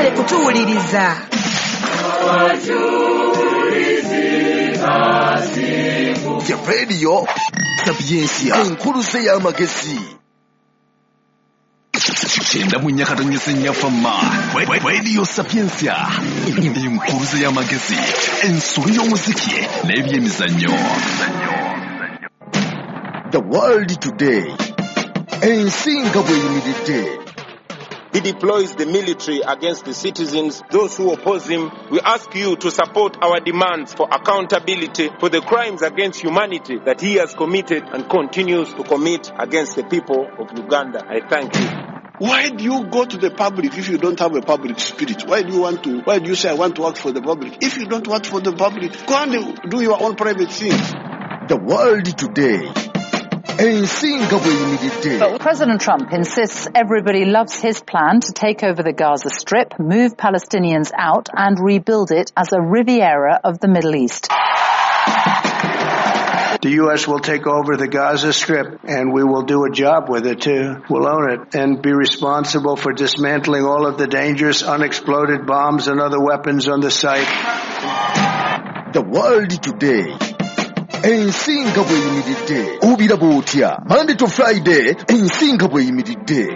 Mwebale kutuwuliriza. The Radio Sapientia, enkuluze y'amagezi. 94.4 Fama Radio Sapientia, enkuluze y'amagezi, ensolo y'omuziki n'ebyemizannyo. The World Today, ensi nga bw'eyimiridde. He deploys the military against the citizens, those who oppose him. We ask you to support our demands for accountability for the crimes against humanity that he has committed and continues to commit against the people of Uganda. I thank you. Why do you go to the public if you don't have a public spirit? Why do you want to, why do you say I want to work for the public? If you don't work for the public, go and do your own private things. The World Today. Ensi nga bw'eyimiridde. But President Trump insists everybody loves his plan to take over the Gaza Strip, move Palestinians out and rebuild it as a Riviera of the Middle East. The U.S. will take over the Gaza Strip, and we will do a job with it, too. We'll own it and be responsible for dismantling all of the dangerous unexploded bombs and other weapons on the site. The World Today. Ensi nga bw'eyimiridde. Obiraba otya? Monday to Friday, ensi nga bw'eyimiridde.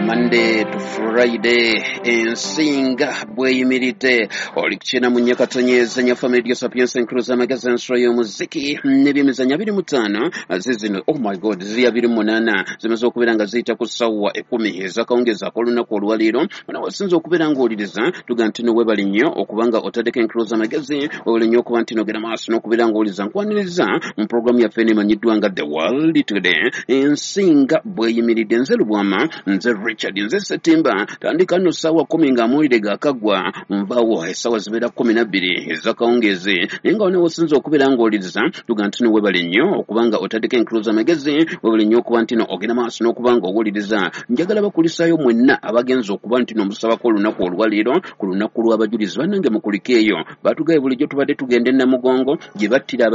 Monday to Friday, ensinga bweyimiridde. Oli kukyena mu nyakatonyeza nyafa Radio Sapientia Encruise amagezi ensolo y'omuziki n'ebyemizannyo 25 zizino, oh my god, ziri 28 zimaze okubeera nga ziyita ku ssaawa 10 ez'akawungeezi ak'olunaku olwaleero. Ono wasinze okubeera ng'owuliriza, tuga nti no weebale nnyo okuba nga otaddeko Encruise amagezi, weebale nnyo okuba nti nogera maaso n'okubeera ng'owuliriza. Nkwaniriza mu pulogulaamu yaffe eno emanyiddwa nga The World Today, ensinga bweyimiridde. Nze Lubwama, nze Richard, nze Setimba. Tandika nno ssaawa 10 ng'amawulire gaakaggwa, nvaawo essaawa zibeera 12 ez'akawungeezi. Naye nga wano wosinze okubeera ng'owuliriza, tuga nti no weebale nnyo okuba nga otaddeko Encruise amagezi, weebale nnyo okuba nti no ogenda maaso n'okuba ng'owuliriza. Njagala bakulisaayo mwenna abagenze okuba nti no musabako olunaku olwaleero ku lunaku lw'abajulizi. Bannange mukulike eyo, batugaye bulijjo tubadde tugenda e Namugongo gye battira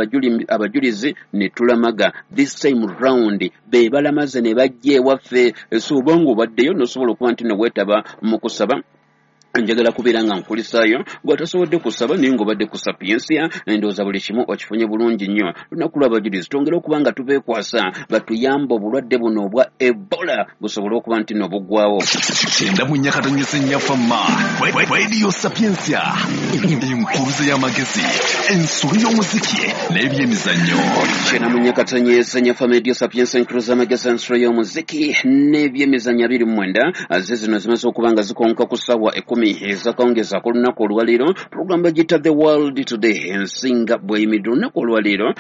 abajulizi ne tulamaga. This time round be balamaze ne bajja ewaffe. So oba ng'obaddeyo n'osobola okuba nti no weetaba mu kusaba, njagala kubeera nga nkulisaayo. Gw'atasobodde kusaba naye ng'obadde ku Sapientia, ndowooza buli kimu okifunye bulungi nnyo. Lunaku lw'abajulizi twongere okuba nga tubeekwasa batuyambe obulwadde buno obwa Ebola busobole okuba nti no buggwawo. 94.4 Fama Radio Sapientia, enkuluze y'amagezi, ensolo y'omuziki n'ebyemizannyo. 94.4 Fama Radio Sapientia, enkuluze y'amagezi, ensolo y'omuziki n'ebyemizannyo 29 ze zino zimaze okuba nga zikonka ku ssaawa 10 ez'akawungeezi ak'olunaku olwaleero. Pulogulaamu bagiyita The World Today, ensinga bw'eyimiridde. Olunaku olwaleero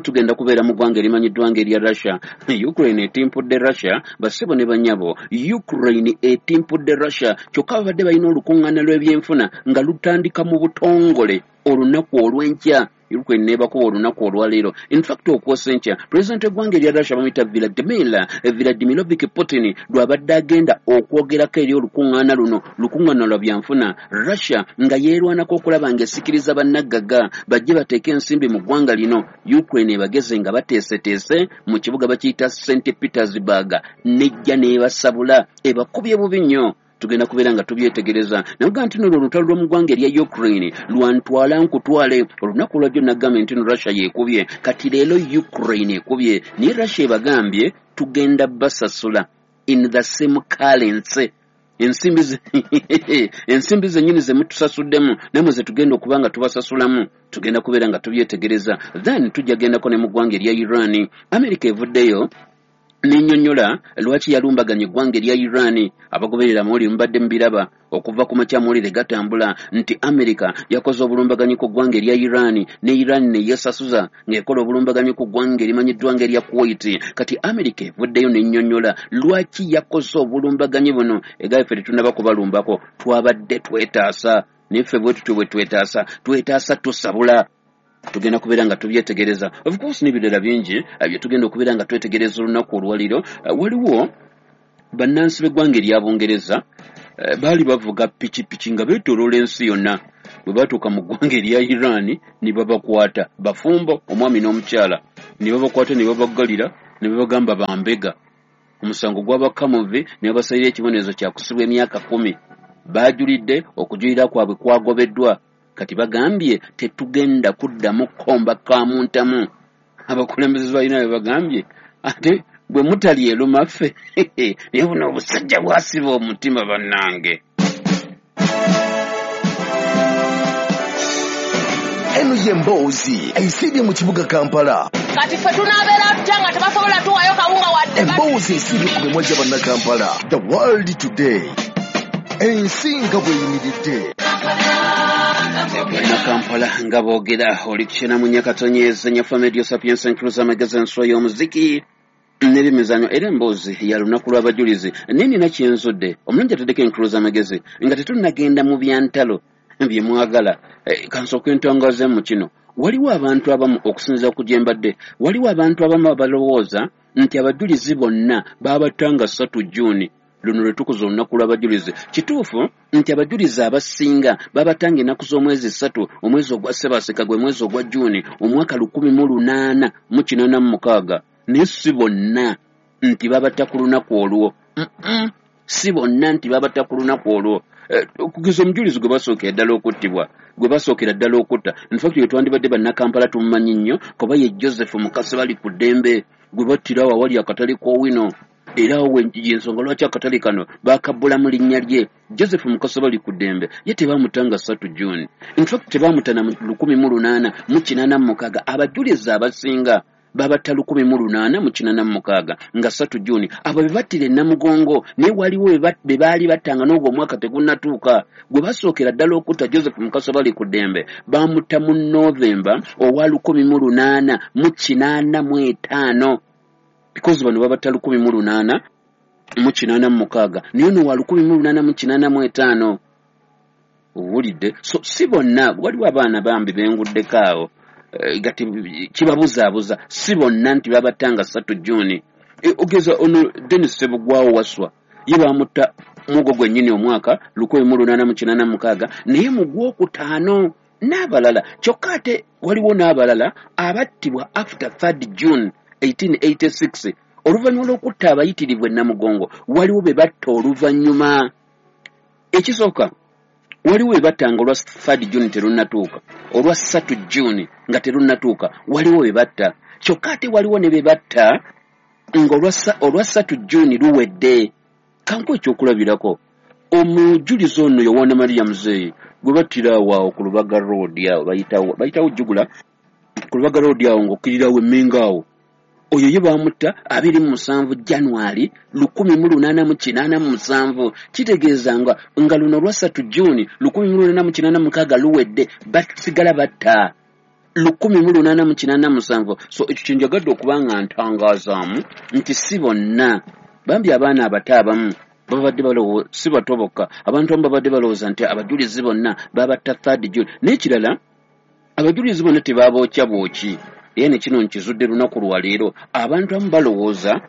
tugenda kubeera mu ggwanga erimanyiddwa ng'erya Russia. Ukraine etimpudde Russia, bassebo ne bannyabo. Ukraine etimpudde Russia, kyokka babadde balina olukuŋŋaana lw'ebyenfuna nga lutandika mu butongole olunaku olw'enkya. Ukraine nebakuba olunaku olwaleero. In fact, okwosa enkya, pulezidenti w'eggwanga erya Russia bamuyita Vladimirovich Putin lw'abadde agenda okwogerako eri olukuŋŋaana luno, lukuŋŋaana lwa byanfuna. Russia nga yeerwanako okulaba ng'esikiriza bannagagga bajje bateeke ensimbi mu ggwanga lino. Ukraine ebageze nga bateeseteese mu kibuga bakiyita St Petersburg, nejja n'ebasabula, ebakubye bubi nnyo. Tugenda kubeera nga tubyetegereza. Navuga nti nno olutalo lw'omu ggwanga erya Ukraine lwantwala nkutwale. Olunaku lwajjo nagambye nti no Russia yeekubye, kati leero Ukraine ekubye, naye Russia ebagambye tugenda basasula in the same currency. Ensimbi zennyini ze mutusasuddemu nammwe ze tugenda okuba nga tubasasulamu. Tugenda kubeera nga tubyetegereza. Then tujja gendako ne mu ggwanga erya Iran. America evuddeyo n'ennyonnyola lwaki yalumbaganya eggwanga erya Iran. Abagoberera amawulire mubadde mubiraba okuva ku makya, amawulire gatambula nti America yakoze obulumbaganyi ku ggwanga erya Iran, ne Iran ne yeesasuza ng'ekola obulumbaganyi ku ggwanga erimanyiddwa ng'erya Kuwait. Kati America evuddeyo n'ennyonnyola lwaki yakoze obulumbaganyi buno. Egaye ffe tetunnaba kubalumbako, twabadde twetaasa, naye ffe bwe tutyo bwe twetaasa, twetaasa tusabula. Tugenda kubeera nga tubyetegereza. Of course n'ebirala bingi bye tugenda okubeera nga twetegereza olunaku olwaleero. Waliwo bannansi b'eggwanga erya Bungereza baali bavuga pikipiki nga beetooloola ensi yonna. Bwe batuuka mu ggwanga erya Iran ne babakwata, bafumbo, omwami n'omukyala, ne babakwata ne babaggalira ne babagamba bambega. Omusango gw'abakamuvi ne babasalira ekibonerezo kya kusibwa emyaka 10. Baajulidde, okujulira kwabwe kwagobeddwa. Kati bagambye tetugenda kuddamu kukomba kamuntamu. Abakulembeze balina bye bagambye, ate bwe mutali eruma ffe. Naye buno obusajja bwasiba omutima bannange. Eno y'emboozi esiibye mu kibuga Kampala. Kati ffe tunaabeera tutya nga tebasobola tuwaayo kawunga wadde? Emboozi esiibye ku mimwa gya Bannakampala. The World Today. Ensi nga bw'eyimiridde. Bannakampala nga boogera. Oli kukyena mu Nyakatonyeza Nyafa Media Sapientia Encruza Magazine Show y'omuziki n'ebyemizannyo, era emboozi ya lunaku lw'abajulizi. Naye nina kyenzudde omulungi ataddeko encruza amagezi nga tetunnagenda mu byantalo bye mwagala. Kansooke ntongoze mu kino. Waliwo abantu abamu, okusinziira ku gye mbadde, waliwo abantu abamu abalowooza nti abajulizi bonna baabattanga 3 June, luno lwe tukuza olunaku lw'abajulizi. Kituufu nti abajulizi abasinga babatanga ennaku z'omwezi 3, omwezi ogwa Ssebaaseka, gwe mwezi ogwa June, omwaka 1886. Naye si bonna nti babatta ku lunaku olwo. Si bonna nti babatta ku lunaku olwo. Okugeza omujulizi gwe basookera ddala okuttibwa, gwe basookera ddala okutta, infact we twandibadde Bannakampala tumumanyi nnyo, kuba ye Joseph Mukasa bali ku ddembe, gwe battira awo awali akatale k'Owino. Era awo yensonga lwaki akatale kano bakabbulamu linnya lye. Joseph Mukasa bali ku ddembe ye tebamutta nga 3 June. Infact tebamuta na 1886. Abajulizi abasinga babatta 1886 nga 3 June. Abo be battira e Namugongo, naye waliwo be baali battanga n'ogwo omwaka tegunnatuuka. Gwe basookera ddala okutta Joseph Mukasa bali ku ddembe bamutta mu Novemba owa 1885, because bano babatta 1886, naye ono wa 1885. Owulidde? So si bonna, waliwo abaana bambi benguddeko awo gati kibabuzaabuza. Si bonna nti babattanga 3 June. Ogeza ono Denis Ssebugwawo Wasswa, ye bamutta mugo gwennyini omwaka 1886, naye mu gwokutaano n'abalala. Kyokka ate waliwo n'abalala abattibwa after 3 June 1886, oluvannyuma lw'okutta abayitirivu e Namugongo. Waliwo be batta oluvannyuma. Ekisooka, waliwo be battanga olwa 3 June terunnatuuka, olwa 3 June nga terunnatuuka, waliwo be batta. Kyokka ate waliwo ne be batta nga olwa 3 June luwedde. Kanku ekyokulabirako, omujulizi ono Yowaana Maria Muzeeyi gwe battira awo awo ku Lubaga Road awo, bayitawo Jugula, ku Lubaga Road awo ng'okkirirawo Emmengo awo. Oyo ye bamutta 27 January 1887. Kitegeeza nga luno olwa 3 June 1886 luwedde, basigala batta 1887. So ekyo kye njagadde okuba nga ntangazaamu nti si bonna. Bambi abaana abato abamu babadde balowooza, si bato bokka, abantu abamu babadde balowooza nti abajulizi bonna babatta 3 June. N'ekirala, abajulizi bonna tebabookya bwoki. Era ne kino nkizudde lunaku lwa leero. Abantu abamu balowooza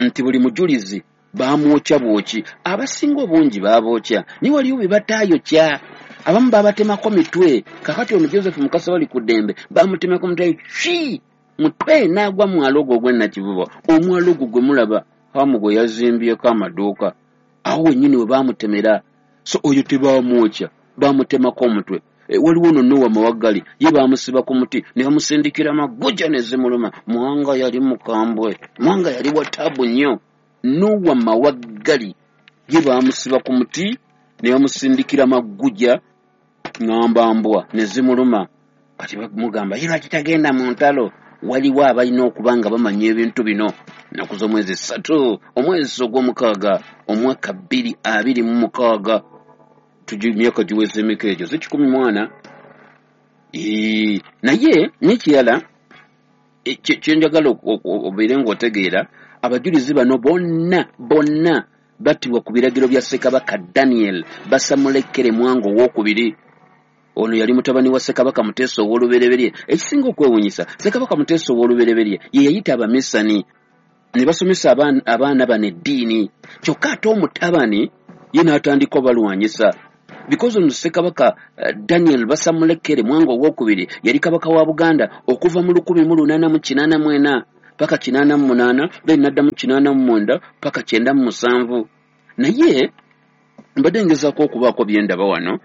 nti buli mujulizi bamwokya bwoki. Abasinga obungi babookya, naye waliwo be bataayokya. Abamu babatemako mitwe. Kakati ono Joseph Mukasa bali ku ddembe bamutemako mutwe, ki mutwe n'agwa mwalo ogwo ogw'e Nakivubo. Omwalo ogwo gwe mulaba Hamu gwe yazimbyeko amaduuka, awo wennyini we baamutemera. So oyo tebamwokya, bamutemako omutwe. Waliwo ono Nowa Mawaggali, ye baamusiba ku muti ne bamusindikira maguja ne zimuluma. Mwanga yali mukambwe, Mwanga yali wa taabu nnyo. Nowa Mawaggali ye baamusiba ku muti ne bamusindikira maguja ngamba mbwa ne zimuluma. Kati bamugamba ye lwaki tagenda mu ntalo? Waliwo abalina okuba nga bamanya ebintu bino. Nnaku z'omwezi 3 omwezi ogw'omukaaga omwaka 2026, emyaka giweze emeka egyo? Si 14. Naye n'ekirala kye njagala obeere ng'otegeera, abajulizi bano bonna bonna battibwa ku biragiro bya Ssekabaka Daniel Basamulekere Mwanga owokubiri. Ono yali mutabani wa Ssekabaka Muteesa ow'olubereberye. Ekisinga okwewuunyisa, Ssekabaka Muteesa ow'olubereberye ye yayita abamisani ne basomesa abaana bano eddiini, kyokka ate omutabani ye n'atandika obalwanyisa. Because ono Ssekabaka Daniel Basamulekere Mwanga owokubiri yali kabaka wa Buganda okuva mu 1884 paka 88, then naddamu 89 paka 97. Naye mbadde ngezaako okubaako bye ndaba wano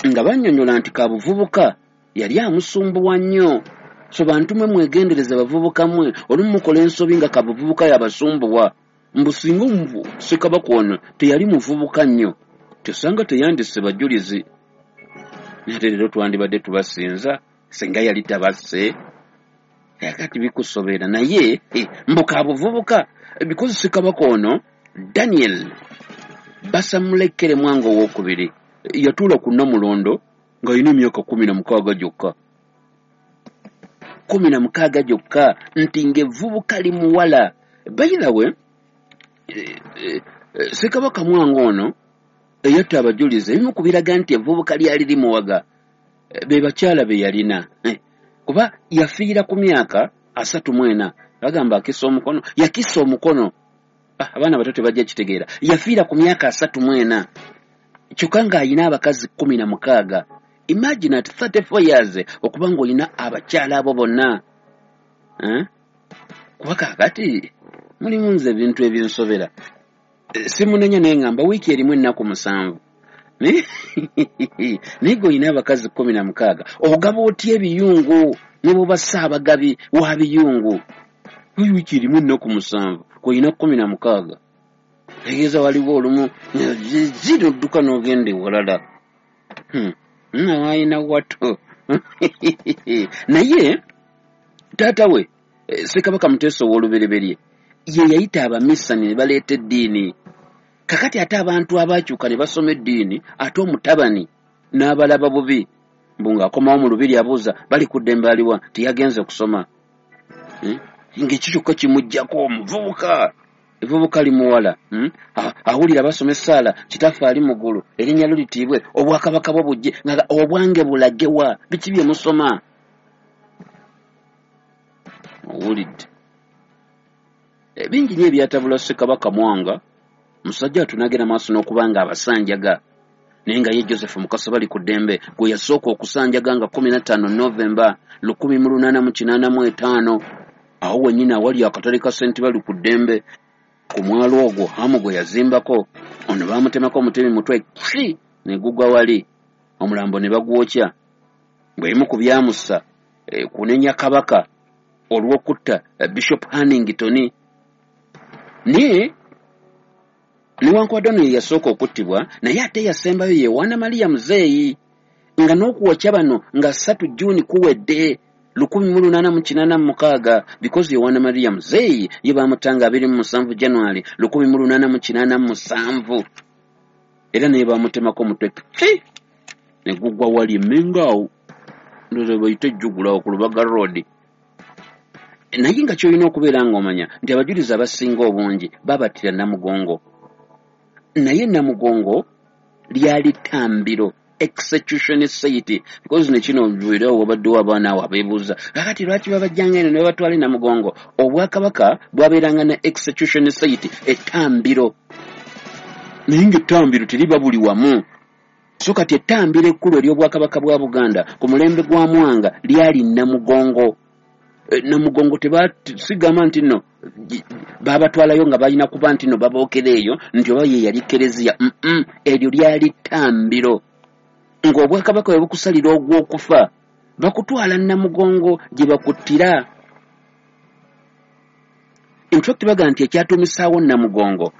nga bannyonnyola nti kabuvubuka yali amusumbuwa nnyo. So bantu mwe mwegendereza, bavubuka mmwe, olumu mukola ensobi nga kabuvubuka yabasumbuwa. Mbu singa Ssekabaka ono teyali muvubuka nnyo, tesanga teyandisse bajulizi, ate leero twandibadde tubasinza singa yali tabasse. Kakati bikusobera. Naye mbu kabuvubuka, because Ssekabaka ono Daniel Basamulekere Mwanga owokubiri yatuula ku Namulondo ng'alina emyaka 16 gyokka, 16 gyokka, nti ng'evvubuka limuwala. By the way, Ssekabaka Mwanga ono eyatta abajulizi, ebimu ku biraga nti evvubuka lyali limuwaga be bakyala be yalina, kuba yafiira ku myaka 34. Bagamba akisa omukono, yakisa omukono, abaana bato tebajja kitegeera. Yafiira ku myaka 34 kyokka ng'alina abakazi 16. Imagine at 34 years okuba ng'olina abakyala abo bonna, kuba kaakati mulimu nze ebintu ebinsobera. Simunenya, naye ngamba wiiki erimu ennaku 7, naye gweolina abakazi 16, ogaba otya ebiyungu ne bwoba ssaabagabi wa biyungu? Wiiki erimu ennaku 7 kwolina 16, tegeeza waliwo olumu zinodduka n'ogenda ewalala nawalina wato. Naye taata we Ssekabaka Muteesa ow'olubereberye ye yayita abamisani ne baleeta eddiini. Kakati ate abantu abakyuka ne basoma eddiini, ate omutabani n'abalaba bubi, mbu ng'akomawo mu lubiri abuuza bali ku ddembe aliwa, tiyagenze kusoma, ng'ekyo kyokka kimuggyako omuvubuka. Evvubuka limuwala, awulira basoma essaala, Kitaffe ali mu ggulu, erinnya lyo litiibwe, obwakabaka bwo bujje, nga obwange bulagewa, biki bye musoma? Owulidde bingi nnyo ebyatabula Ssekabaka Mwanga. Musajja atunagera maaso n'okuba nga abasanjaga, naye nga ye Joseph Mukasa bali ku ddembe gwe yasooka okusanjaga nga 15 Novemba 1885, awo wennyini awali akatale ka Ssenti bali ku ddembe ku mwalo ogwo Hamu gwe yazimbako. Ono baamutemako omutemi mutwe ki ne gugwa wali, omulambo ne bagwokya. Bw'ebimu ku byamussa kunenya Kabaka olw'okutta Bishop Hannington. Naye newankubadde ono ye yasooka okuttibwa, naye ate yasembayo ye Yowaana Maria Muzeeyi, nga n'okuwokya bano nga 3 Juni kuwedde 1886, because Yowaana Maria Muzeeyi ye baamutanga 27 January 1887, era naye baamutemako omutwe ki ne gugwa wali Emmengo awo, ndowooza bayite ejjugulawo ku Lubaga Road. Naye nga ky'olina okubeera ng'omanya nti abajulizi abasinga obungi babattira Namugongo, naye Namugongo lyali ttambiro, execution site, because ne kino era wabaddewo abaana awo abeebuuza kakati lwaki babajjanga eno ne babatwala e Namugongo. Obwakabaka bwabeeranga ne execution site, ettambiro, naye ng'ettambiro teriba buli wamu. So kati ettambiro ekkulu ery'obwakabaka bwa Buganda ku mulembe gwa Mwanga lyali Namugongo. Namugongo sigamba nti nno babatwalayo nga balina kuba nti nno babookera eyo nti oba ye yali kereziya, eryo lyali ttambiro. Ng'obwakabaka bwe bukusalira ogw'okufa bakutwala Namugongo gye bakuttira. In fact bagamba nti ekyatuumisaawo Namugongo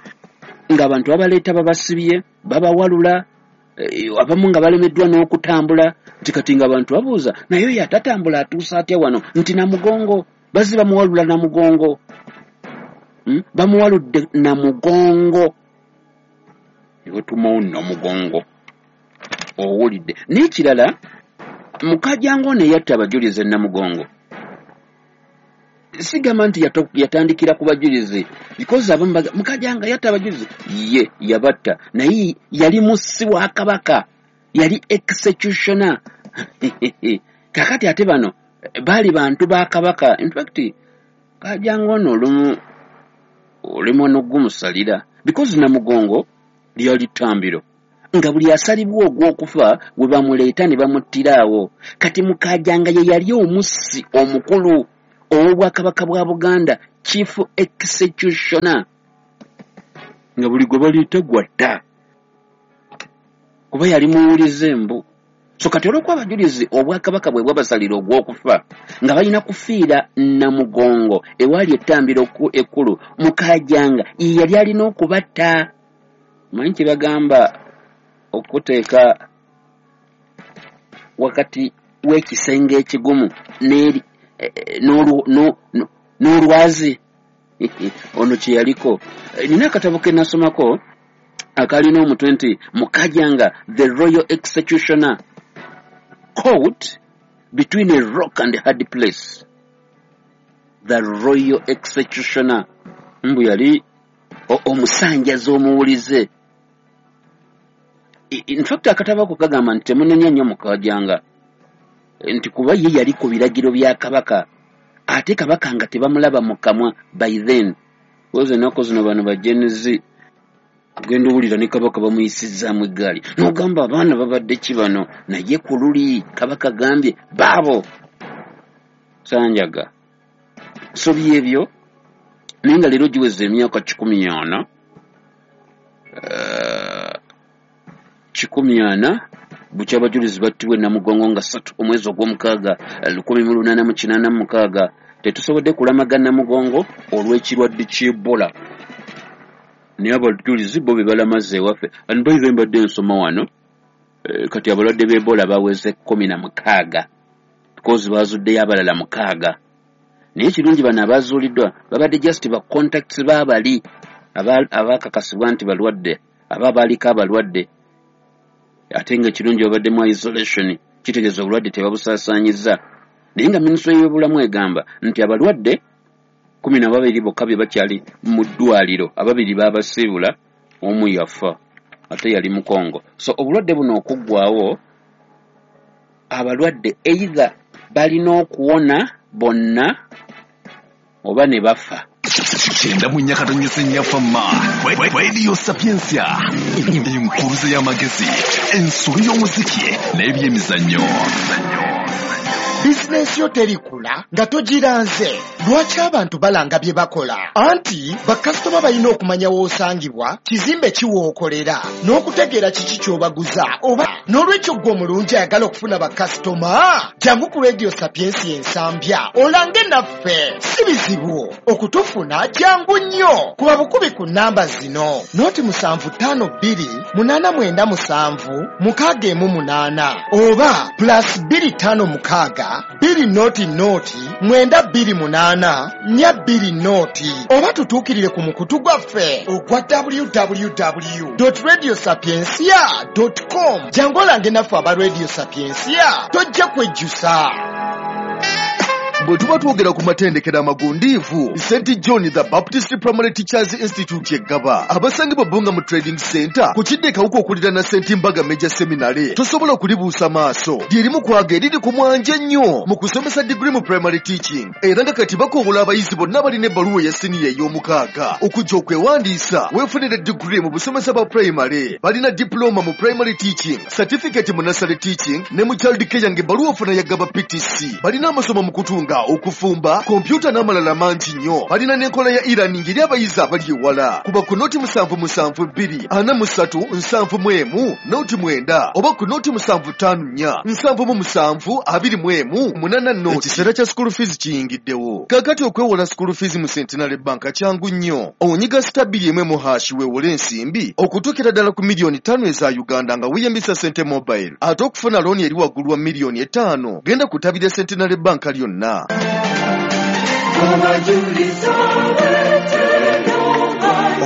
ng'abantu babaleeta babasibye babawalula, abamu nga balemeddwa n'okutambula, nti kati ng'abantu babuuza naye oyo atatambula atuusa atya wano, nti Namugongo bazze bamuwalula Namugongo, bamuwaludde Namugongo, ne batumawo Namugongo. Owulidde. N'ekirala, Mukajjango ono eyatta abajulizi e Namugongo, sigamba nti yatandikira ku bajulizi, because abamu Mukajjanga yatta abajulizi, ye yabatta, naye yali mussi wa Kabaka, yali executioner. Kakati ate bano baali bantu ba Kabaka. In fact Kajjango ono olumu olemwa n'ogumusalira, because Namugongo lyali ttambiro nga buli asalibwa ogw'okufa we bamuleeta ne bamuttira awo. Kati Mukajjanga ye yali omussi omukulu ow'obwakabaka bwa Buganda, chief executioner, nga buli gwe baliita gwatta kuba yali muwulize mbu. So kati olw'okuba abajulizi obwakabaka bwe bwabasalira ogw'okufa nga balina kufiira Namugongo ewaali ettambiro ekkulu, Mukajanga ye yali alina okubatta. Manyi kye bagamba okuteeka wakati w'ekisenge ekigumu n'olwazi ono kye yaliko. Nina akatabo ke nasomako akalina omutwe nti Mukajanga the Royal Executioner caught between a rock and a hard place. The Royal Executioner mbu yali omusanjazi omuwulize. In fact akatabo ako kagamba nti temunenya nnyo Mukajanga, nti kuba ye yali ku biragiro bya Kabaka, ate Kabaka nga tebamulaba mu kamwa by then. Koze ennaku zino bano ba Gen Z ogenda owulira ne Kabaka bamuyisizzaamu eggaali, n'ogamba abaana babadde ki bano, naye ku luli Kabaka gambye baabo sanjaga. So byebyo, naye nga leero giweza emyaka 140 140 bukya abajulizi battibwa e Namugongo nga 3 omwezi ogw'omukaaga 1886. Tetusobodde kulamaga Namugongo olw'ekirwadde ky'Ebola, naye abajulizi bo be balamaze ewaffe. And by the way, mbadde nsoma wano, kati abalwadde b'Ebola baweze 16 because bazuddeyo abalala 6. Naye ekirungi bano abazuuliddwa babadde just ba contacts b'abali abakakasibwa nti balwadde, aba baaliko abalwadde, ate nga ekirungi babaddemu isolation, kitegeeza obulwadde tebabusaasaanyizza. Naye nga minisitule y'ebyobulamu egamba nti abalwadde 12 bokka be bakyali mu ddwaliro, ababiri baabasiibula, omu yafa ate yali Mukongo. So obulwadde buno okuggwawo, abalwadde either balina okuwona bonna oba ne bafa. 94.4 Fama Radio Sapientia, enkuluze y'amagezi, ensolo y'omuziki n'ebyemizannyo. Bizinensi yo terikula nga togiranze. Lwaki abantu balanga bye bakola? Anti bakasitoma balina okumanya w'osangibwa, kizimbe ki w'okolera, n'okutegeera kiki ky'obaguza oba. N'olwekyo ggwe omulungi ayagala okufuna bakasitoma, jangu ku Radio Sapientia Ensambya olange naffe. Si bizibu okutufuna, jangu nnyo kuba bukubi ku nnamba zino: 0 752 897 618 oba +256 200 928 420, oba tutuukirire ku mukutu gwaffe ogwa www.radiosapiencia.com. Jangu olange naffe aba Radio Sapientia, tojja kwejjusa. Bwe tuba twogera ku matendekero amagundiivu, St John the Baptist Primary Teachers Institute eggaba abasangibwa Bbunga mu Trading Center ku kidde Kawuka okuliraana St Mbaga Major Seminary, tosobola kulibuusa maaso. Lyerimu kwaga eriri ku mwanje ennyo mu kusomesa digiri mu primary teaching, era nga kati bakowola abayizi bonna abalina ebbaluwa eya siniya ey'omukaaga okujja okwewandiisa weefunire digiri mu busomesa bwa primary. Balina diploma mu primary teaching, certificate mu nursery teaching ne mu child care, ng'ebbaluwa ofuna yagaba PTC. Balina amasomo mu kutunga, okufumba, kompyuta n'amalala mangi nnyo. Balina n'enkola ya e-learning eri abayizi abali ewala. Kuba ku 077 243 71 09 oba ku 0754 77 21 80. Ekiseera kya school fees kiyingiddewo kaakati. Okwewola school fees mu Centenary Bank kyangu nnyo. Onyiga *210 mu hash weewole ensimbi okutuukira ddala ku miliyoni 5 eza Uganda nga weeyambisa Sente Mobile. Ate okufuna looni eri waggulu wa miliyoni 5, genda ku ttabi lya Centenary Bank lyonna.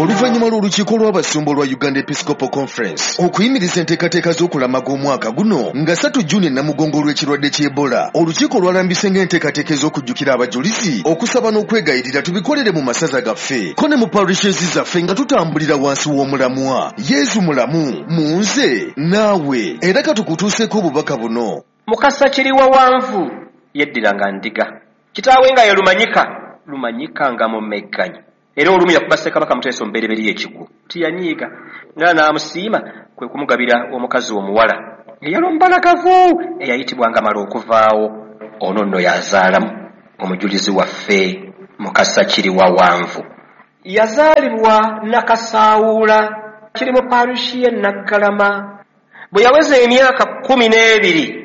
Oluvannyuma lw'olukiiko lw'abasumba olwa Uganda Episcopal Conference okuyimiriza enteekateeka z'okulamaga omwaka guno nga 3 Juni e Namugongo olw'ekirwadde ky'Ebola, olukiiko lwalambise ng'enteekateeka ez'okujjukira abajulizi, okusaba n'okwegayirira tubikolere mu masaza gaffe ko ne mu parishes zaffe nga tutambulira wansi w'omulamwa Yezu mulamu mu nze naawe. Era katukutuuseeko obubaka buno. Mukasa Kiriwawanvu yeddiranga ndiga, kitaawe nga ye Lumanyika, Lumanyika nga mumegganyi, era olumu yakuba Ssekabaka Muteesa omubereberye ekigwo. Tiyanyiiga era n'amusiima, kwe kumugabira omukazi omuwala eyali omubalagavu eyayitibwanga mala okuvaawo. Ono nno yazaalamu Omujulizi waffe Mukasa Kiriwawanvu yazaalibwa Nakasaawuula, kiri mu parishi ye Naggalama. Bwe yaweza emyaka 12,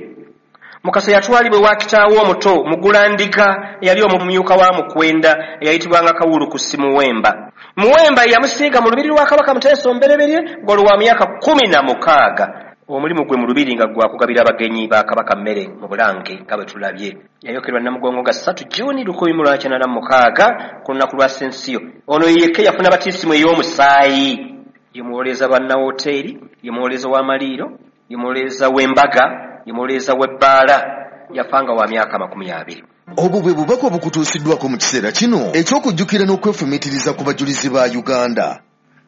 Mukasa yatwalibwa ewa kitaawe omuto Mugulandiga, eyali omumyuka wa Mukwenda, eyayitibwanga Kawulukusi Muwemba. Muwemba yamusiiga mu lubiri lwa Kabaka Muteesa Omubereberye ng'olwo wa myaka 16. Omulimu gwe mu lubiri nga gwa kugabira abagenyi ba Kabaka mmere mu Bulange, nga bwe tulabye. Yayokerwa Namugongo nga 3 Juni 1986 ku lunaku lwa Sensiyo. Ono yekka yafuna batisimu ey'omusaayi. Ye muwolereza bannawoteeri, ye muwolereza w'amaliiro, ye muwolereza w'embaga, ye muwolereza w'ebbaala. Yafanga wa myaka 20. Obwo bwe bubaka obukutuusiddwako mu kiseera kino eky'okujjukira n'okwefumiitiriza ku bajulizi ba Uganda.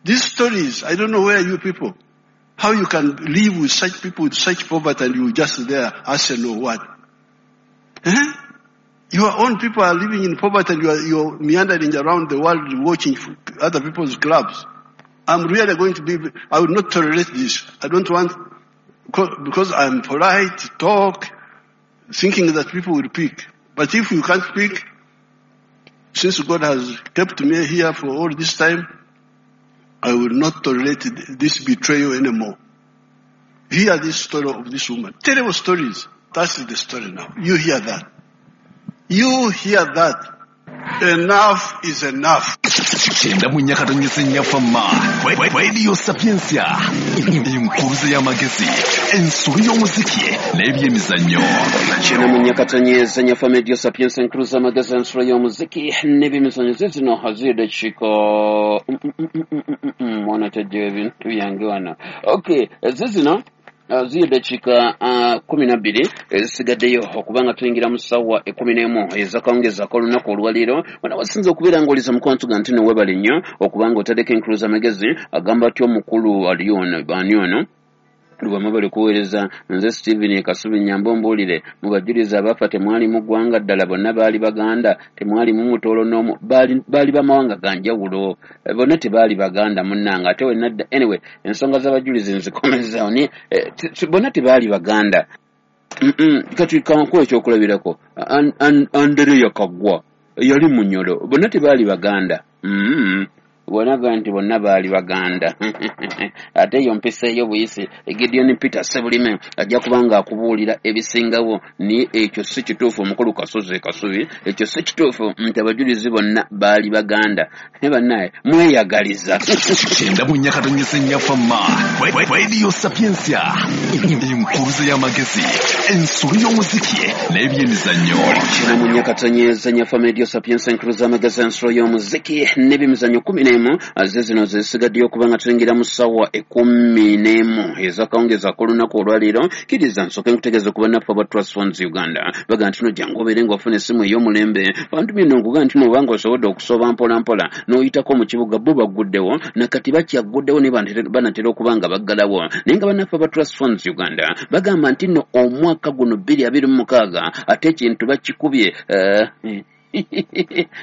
These stories, I don't know where you people, how you can live with such people, with such poverty, and you just there, Arsenal, what? Eh? Your own people are living in poverty and you're meandering around the world watching other people's clubs. I'm really going to be, I will not tolerate this. I don't want, because I'm polite, talk, thinking that people will pick. But if you can't pick, since God has kept me here for all this time, I will not tolerate this betrayal anymore. Hear this story of this woman. Terrible stories. That's the story now. You hear that. You hear that. Enough is enough. 94.4 Radio Sapientia, enkuruze y'amagezi, ensolo y'omuziki n'ebyemizannyo. 94.4 FM Radio Sapientia, enkuruze y'amagezi, ensolo y'omuziki n'ebyemizannyo. Ze zino ziri dakiika mwana tajjayo ebintu byange wano. Okay, ze zino ziri dakiika 12 ezisigaddeyo okubanga tuyingira mu ssaawa 11 ezakawungezaako olunaku olwaleero. Wano wasinza okubeera ng'oliza mukwano ga nti nowebale nnyo okubanga otaddeko enkuluza amagezi. Agamba atya omukulu ali ono, baani ono lwamwe bali kuweereza? Nze Stephen Kasubi Nyambo. Mbuulire, mu bajulizi abafa temwalimu ggwanga ddala? Bonna baali Baganda? Temwalimu Mutoolo n'omu? Baali bamawanga ga njawulo. Bonna tebaali Baganda munnanga. Ate wenna dda, anyway, ensonga z'abajulizi nzikomezaawo naye bonna tebaali Baganda. Kati kankuwa ekyokulabirako, Andereya Kaggwa yali Munyolo. Bonna tebaali Baganda. Bonaga nti bonna baali Baganda, ate eyo mpisa ey'obuyisi. Gideon Peter Sebulime ajja kuba nga akubuulira ebisingawo, naye ekyo si kituufu. Omukulu Kasozi Kasubi, ekyo si kituufu nti abajulizi bonna baali Baganda. Ne bannaye mweyagaliza. 94.4 FM Radio Sapientia, enkuruze y'amagezi, ensolo y'omuziki n'ebyemizannyo. 94.4 FM Radio Sapientia, enkuruze y'amagezi, ensolo y'omuziki n'ebyemizannyo. 11 ze zino zesigaddeyo okuba nga tuyingira mu ssaawa 11 ezakawungezi ak'olunaku olwaleero. Kkiriza nsooke nkutegeeze ku bannaffe aba Trust Funds Uganda. Baga nti no jangu obeere ng'ofuna essimu ey'omulembe. Bantu bino nkuga nti no obanga osobodde okusooba mpola mpola n'oyitako mu kibuga, bo bagguddewo nakati bakyagguddewo ne banatera okuba nga baggalawo. Naye nga bannaffe aba Trust Funds Uganda bagamba nti nno omwaka guno 2026 ate ekintu bakikubye.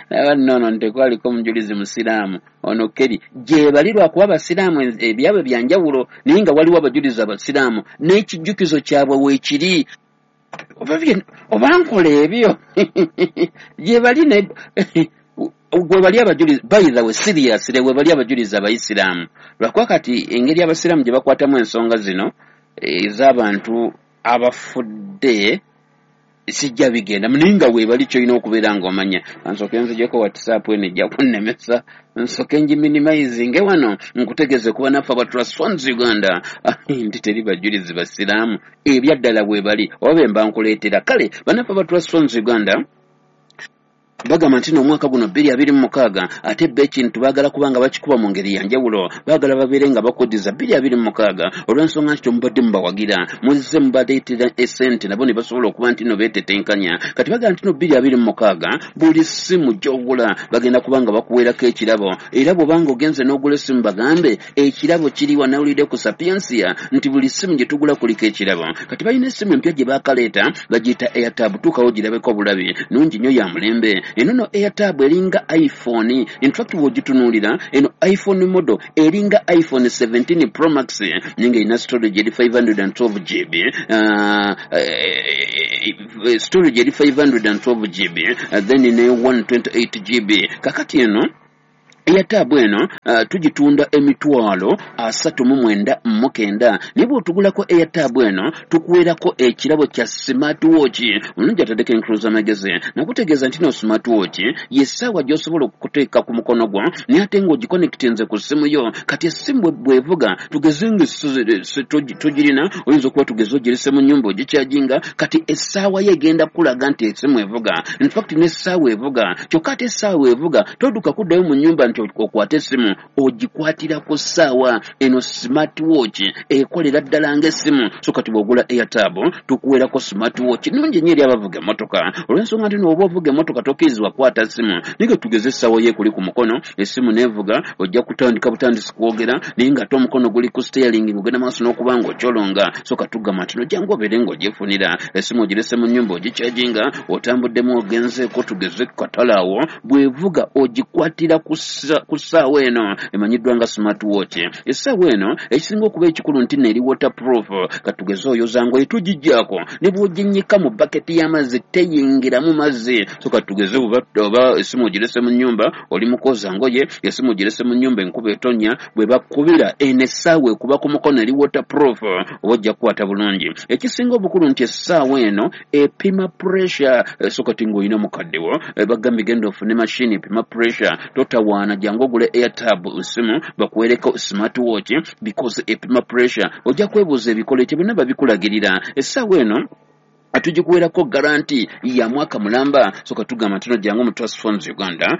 Aba nno ntekwaliko omujulizi musiraamu ono keri gye bali, lwakuba abasiraamu ebyabwe byanjawulo, naye nga waliwo abajulizi abasiraamu n'ekijjukizo kyabwe weekiri. Oba nkola ebyo gye bali ne gwe bali abajulizi. By the way, seriously, we bali abajulizi abayisiraamu, lwakuba kati engeri abasiraamu gye bakwatamu ensonga zino ez'abantu abafudde sijja bigenda, naye nga weebali kyolina okubeera ng'omanya. Nsooke nzijeko WhatsApp eno ejja kunnemesa, nsooke ngiminimizinge wano nkutegeeze kuba naffe aba Trust Funds Uganda nti teri bajulizi basiraamu, ebyaddala bwe bali oba be mba nkuleetera. Kale bannaffe aba Trust Funds Uganda bagamba nti n'omwaka guno 2026 ate bba ekintu baagala kubanga bakikuba mu ngeri yanjawulo. Baagala babeere nga bakuddiza 2026 olw'ensonga nti temubadde mubawagira, muzze mubaleetera esente nabo ne basobola okuba nti no beetetenkanya. Kati bagamba nti no 2026 buli ssimu gy'ogula bagenda kuba nga bakuweerako ekirabo. Era bw'obanga ogenze n'ogula essimu, bagambe ekirabo kiri wanawulidde ku Sapiensia nti buli ssimu gye tugula kuliko ekirabo. Kati balina essimu empya gye baakaleeta, bagiyita Airtab. Tuukawo girabeko obulabi, nungi nnyo, ya mulembe. Eno no Airtab eringa iPhone. In fact bw'ogitunuulira eno iPhone model eringa iPhone 17 Pro Max, ninga ina storage eri 512 GB, storage eri 512 GB, then ne 128 GB. Kakati eno Airtab eno tugitunda 339,000, naye bw'otugulako Airtab eno tukuweerako ekirabo kya smartwatch. Omulungi ataddeko enkuluza amagezi nakutegeeza nti no smartwatch y'essaawa gy'osobola okuteeka ku mukono gwo naye ate ng'ogiconnectinze ku ssimu yo. Kati essimu bw'evuga, tugeze nga togirina, oyinza okuba tugeze ogirese mu nnyumba ogikyajinga, kati essaawa yo egenda kukulaga nti essimu evuga. In fact n'essaawa evuga, kyokka ate essaawa evuga todduka kuddayo mu nnyumba nti okwate essimu, ogikwatira ku ssaawa. Eno smartwatch ekolera ddala ng'essimu. So kati bw'ogula Airtab tukuweerako smartwatch nnungi nnyo eri abavuga emmotoka, olw'ensonga nti n'oba ovuga emmotoka tokkirizibwa kukwata ssimu, naye tugeze essaawa yo ekuli ku mukono, essimu n'evuga, ojja kutandika butandisi kwogera naye ng'ate omukono guli ku steering ng'ogenda maaso n'okuba ng'okyolonga. So katugamba nti no jangu obeere ng'ogyefunira essimu, ogirese mu nnyumba ogikyajinga, otambuddemu ogenzeeko tugeze katale awo, bw'evuga ogikwatira ku ssaawa eno emanyiddwa nga smartwatch. Essaawa eno ekisinga okuba ekikulu nti neri waterproof. Katugeze oyoza ngoye tugiggyako ne bw'oginnyika mu baketi y'amazzi teyingiramu mazzi. So katugeze oba essimu ogirese mu nnyumba oli mu kwoza ngoye, essimu ogirese mu nnyumba enkuba etonnya, bwe bakubira eno essaawa ekuba ku mukono eri waterproof, oba ojja kukwata bulungi. Ekisinga obukulu nti essaawa eno epima pressure. So kati ng'olina mukaddewo bagambye genda ofune mashini epima pressure, totawaana, jangu ogule Airtab essimu bakuweereko smartwatch because epima pressure. Ojja kwebuuza ebikola ekyo byonna babikulagirira. Essaawa eno tugikuweerako garanti ya mwaka mulamba. So katugamba nti no jangu mu Trust Phones Uganda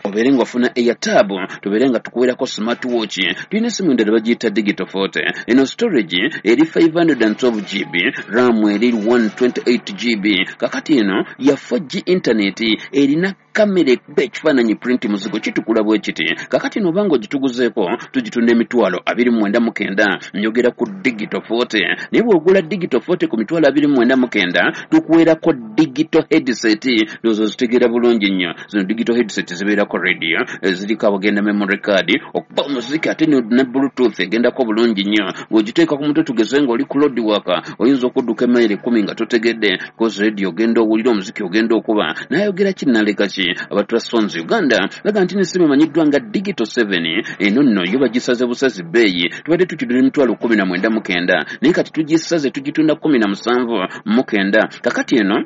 obeere ng'ofuna Airtab, tubeere nga tukuweerako smartwatch. Tulina essimu endala bagiyita Digital 40. Eno storage eri 512 GB, RAM eri 128 GB. Kakati eno ya 4G internet, erina kamera ekuba ekifaananyi print muzigo kitukula bwe kiti. Kakati eno obanga ogituguzeeko tugitunda 29,900, njogera ku Digital 40. Naye bw'ogula Digital 40 ku 29,900 tukuweerako digital headset. Ndowooza ozitegeera bulungi nnyo. Zino digital headset zibeerako radio, ziriko awagenda memory card okuba omuziki, ate ne bluetooth egendako bulungi nnyo. Ng'ogiteeka ku mutwe tugeze ng'oli ku road work, oyinza okudduka emayiro 10 nga totegedde, cause radio ogenda owulira omuziki ogenda okuba. Nayogera ki naleka ki? Aba Trust Phones Uganda baga nti n'essimu emanyiddwa nga Digital 7 eno nno yo bagisaze busazi bbeeyi. Tubadde tukidula 19,900, naye kati tugisaze tugitunda 17,900. Kakati eno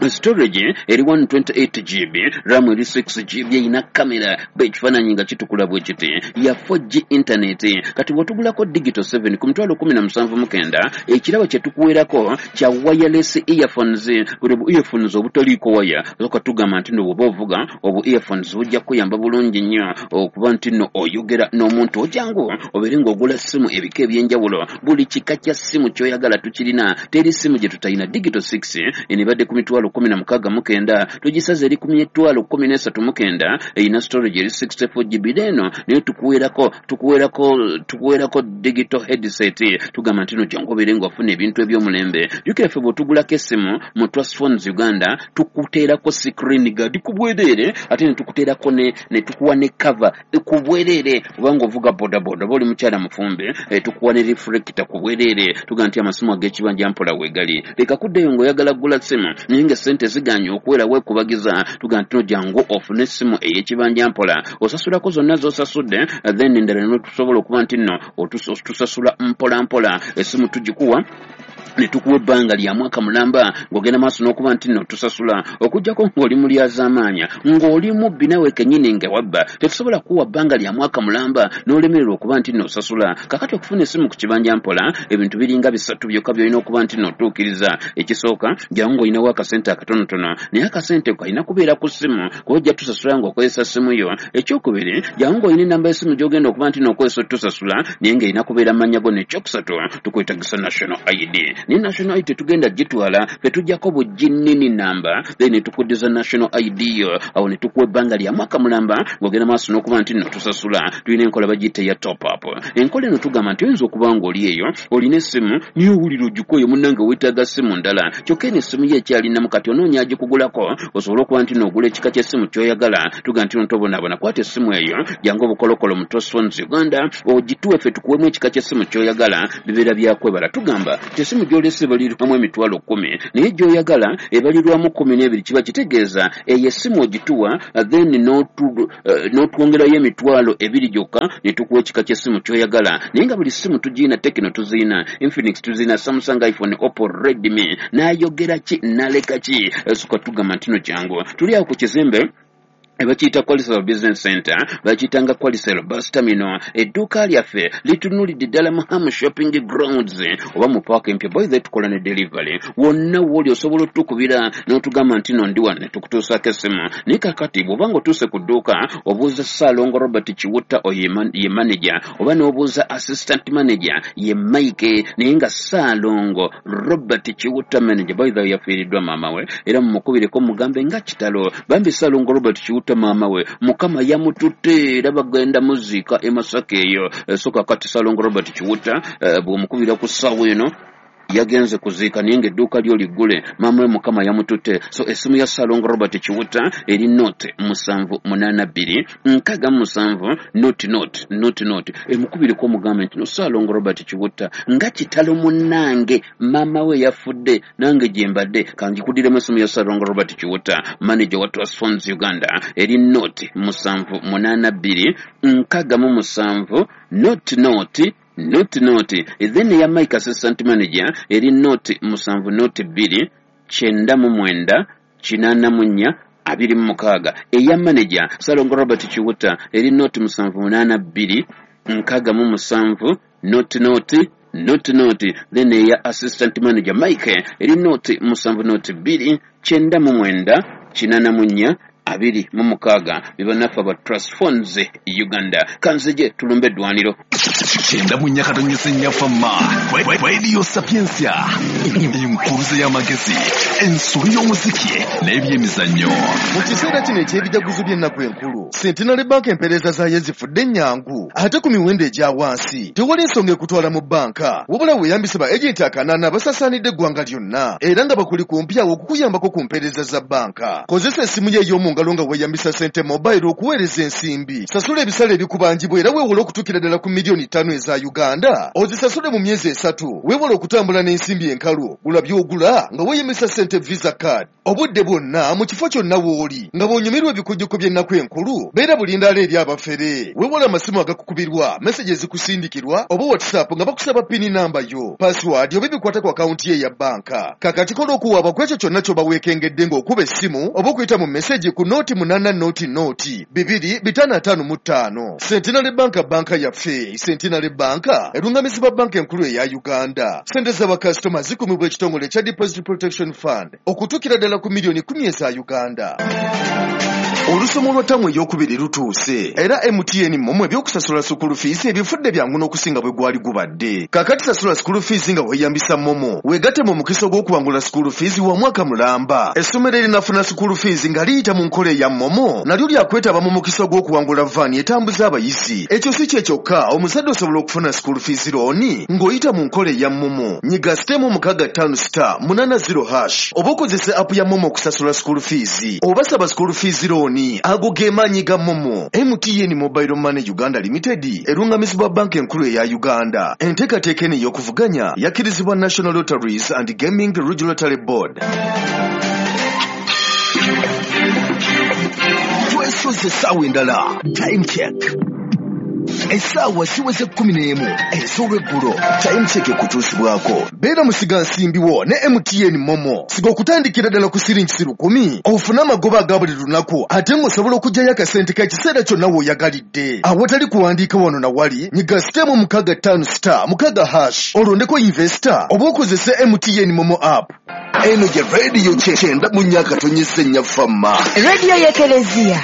storage eri 128 GB, RAM eri 6 GB, erina kamera ekifaananyi nga kitukula bwe kiti, ya 4G internet. Kati bw'otugulako Digital 7 ku 17,900, ekirabo kye tukuweerako kya wireless earphones, buli bu earphones obutaliiko waya. Soka tugamba nti nno bw'oba ovuga obu earphones bujja kukuyamba bulungi nnyo okuba nti nno oyogera n'omuntu. Ojangu obeere ng'ogula ssimu ebika ebyenjawulo, buli kika kya ssimu ky'oyagala tukirina, teri ssimu gye tutalina. Digital 6 eno ebadde ku 16,900, tugisaze eri ku 13,900, erina storage eri 64 GB. Eno naye tukuweerako digital headset. Tugamba nti no jangu obeere ng'ofuna ebintu eby'omulembe. Jjukira ffe bw'otugulako essimu mu Trust Phones Uganda tukuteerako screen guard ku bwereere, ate ne tukuteerako ne tukuwa ne cover ku bwereere. Obanga ovuga bodaboda oba oli mukyala mufumbe, tukuwa ne reflector ku bwereere. Tugamba nti amasimu ag'ekibanja mpola weegali, leka kuddayo ng'oyagala kugula ssimu naye nga ssente ziganye okuwera weekubagiza. Tugamba nti no jangu ofune essimu ey'ekibanja mpola, osasulako zonna z'osasudde, then endala n'otusobola okuba nti nno tusasula mpola mpola. Essimu tugikuwa ne tukuwa ebbanga lya mwaka mulamba ng'ogenda maaso n'okuba nti nno tusasula, okuggyako ng'oli mulyazaamaanya ng'oli mubbi nawe kennyini nga wabba, tetusobola kuwa bbanga lya mwaka mulamba n'olemererwa okuba nti nno osasula. Kakati okufuna essimu ku kibanja mpola ebintu biringa bisatu byokka by'olina okuba nti nno otuukiriza. Ekisooka, jangu ng'olinawo akasente akatonotono, naye akasente kalina kubeera ku ssimu kuba ojja tusasula ng'okozesa ssimu yo. Ekyokubiri, jangu ng'olina ennamba y'essimu gy'ogenda okuba nti nno okozesa otusasula, naye ng'erina kubeera mannya go. N'ekyokusatu, tukwetagisa national ID. ID. Ne National ID tetugenda gitwala, ffe tujjako buginnini namba, then ne tukuddiza National ID yo, awo ne tukuwa ebbanga lya mwaka mulamba ng'ogenda maaso n'okuba nti nno tusasula. Tulina enkola bagiyita eya top up. Enkola eno tugamba nti oyinza okuba ng'oli eyo olina essimu naye owulira ogikooye, munnange weetaaga ssimu ndala, kyokka eno essimu yo ekyalinamu, kati onoonya agikugulako osobole okuba nti n'ogula ekika ky'essimu ky'oyagala. Tugamba nti ntobonaabona, kwata essimu eyo jangu obukolokolo mu Trust Phones Uganda ogituwe ffe tukuwemu ekika ky'essimu ky'oyagala, bibeera byakwebala. Tugamba nti essimu gy'olese ebalirwamu 100,000, naye gy'oyagala ebalirwamu 12, kiba kitegeeza eyo essimu ogituwa then n'otwongerayo 20,000 gyokka ne tukuwa ekika ky'essimu ky'oyagala. Naye nga buli ssimu tugiyina, Tecno tuziyina, Infinix tuziyina, Samsung, iPhone, Oppo, Redmi, n'ayogera ki n'aleka ki. Suka tugamba nti no jangu, tuli awo ku kizimbe bakiyita Qualisel Business Center, bakiyitanga Qualisel Bus Terminal. Edduuka lyaffe litunulidde ddala mu Ham Shopping Grounds oba mu paaka empya. By the way, tukola ne delivery wonna wooli, osobola otukubira n'otugamba nti no ndi wano ne tukutuusaako essimu. Naye kakati bw'oba ng'otuuse ku dduuka obuuza Ssaalongo Robert Kiwutta, oyo ye manager, oba n'obuuza assistant manager ye Mike. Naye nga Ssaalongo Robert Kiwutta manager, by the way, yafiiriddwa maama we, era mumukubireko mugambe nga kitalo bambi Ssaalongo Robert Kiwutta maama we Mukama yamututte era bagenda muziika e Masaka eyo. So kakati Ssaalongo Robert Kiwutta bw'omukubira ku ssaawa eno yagenze kuziika, naye ng'edduuka lyo liggule, maama we Mukama yamututte. So essimu ya Ssaalongo Robert Kiwutta eri 0 782 67 00 00. Emukubireko omugambe nti no Ssaalongo Robert Kiwutta nga kitalo munnange maama we yafudde, nange gye mbadde. Kangikudiremu essimu ya Ssaalongo Robert Kiwutta, manager wa Trust Phones Uganda, eri 0 782 67 00 00. Then eya Mike assistant manager eri 0 7 02 99 84 26. Eya manager Ssalongo Robert Kiwutta eri 0 782 67 00 00. Then eya assistant manager Mike eri 0 7 02 99 84 26. Bebannaffe aba Trust Phones Uganda. Kanzije tulumbe eddwaniro. 94.4 Fama Radio Sapientia, enkuluze y'amagezi, ensolo y'omuziki n'ebyemizannyo. Mu kiseera kino eky'ebijaguzo by'ennaku enkulu, Centenary Bank empeereza zaayo zifudde ennyangu ate ku miwendo egya wansi. Tewali nsonga ekutwala mu bbanka, wabula weeyambise ba agenti 8 basaasaanidde eggwanga lyonna era nga bakuli kumpi awo okukuyambako ku mpeereza za bbanka. Kozesa essimu yo ey'omu ngalo nga weeyambisa Sente Mobile okuweereza ensimbi, sasula ebisale ebikubanjibwa era weewole okutuukira ddala ku miliyoni 5 eza Uganda, ozisasule mu myezi 3. Weewale okutambula n'ensimbi enkalu, gula by'ogula nga weeyambisa Sente Visa Card obudde bwonna mu kifo kyonna w'oli. Nga bw'onyumirwa ebikujjuko by'ennaku enkulu, beera bulindaala eri abafere. Weewale amasimu agakukubirwa, message ezikusindikirwa oba WhatsApp nga bakusaba PIN namba yo, password oba ebikwata ku akawunti ye eya bbanka. Kakati kola okuwaaba ku ekyo kyonna ky'oba weekengedde ng'okuba essimu oba okuyita mu message ku 0800 2 555. Centenary Bank, banka yaffe. Centenary Bank erungamizibwa Banka Enkulu eya Uganda. Sente z'abakasitoma zikumibwa ekitongole ekya Deposit Protection Fund okutuukira ddala ku miliyoni 10 eza Uganda. Olusomo lwa ttamu ey'okubiri lutuuse era MTN MoMo ebyokusasula school fees ebifudde byangu n'okusinga bwe gwali gubadde. Kakati sasula school fees nga weeyambisa MoMo, weegatte mu mukisa ogw'okuwangula school fees wa mwaka mulamba. Essomero erinafuna school fees nga liyita mu nkola eya MoMo nalyo lyakwetaba mu mukisa ogw'okuwangula van etambuza abayizi. Ekyo si kye kyokka, omuzadde osobola okufuna school fees loan ng'oyita mu nkola eya MoMo. Nyiga *658*80# oba okozesa app ya MoMo okusasula school fees oba saba school fees loan. Ago ge maanyi ga MoMo. MTN Mobile Money Uganda Limited erungamizibwa Banka Enkulu eya Uganda. Enteekateeka eno ey'okuvuganya yakkirizibwa National Lotteries and Gaming Regulatory Board. Twesoze essaawa endala. Time check, essaawa ziweze 11 ez'olweggulo. Time check ekutuusibwako Beera musigansimbi wo ne MTN MoMo. Siga okutandikira ddala ku siringisi 1,000 ofune amagoba aga buli lunaku, ate ng'osobola okuggyayo akasente k'ekiseera kyonna w'oyagalidde awatali kuwandiika wano na wali. Nyiga *65*6# olondeko invest oba okozese MTN MoMo app. Eno gye radio 94.4 Fama. Rediyo y'Ekereziya.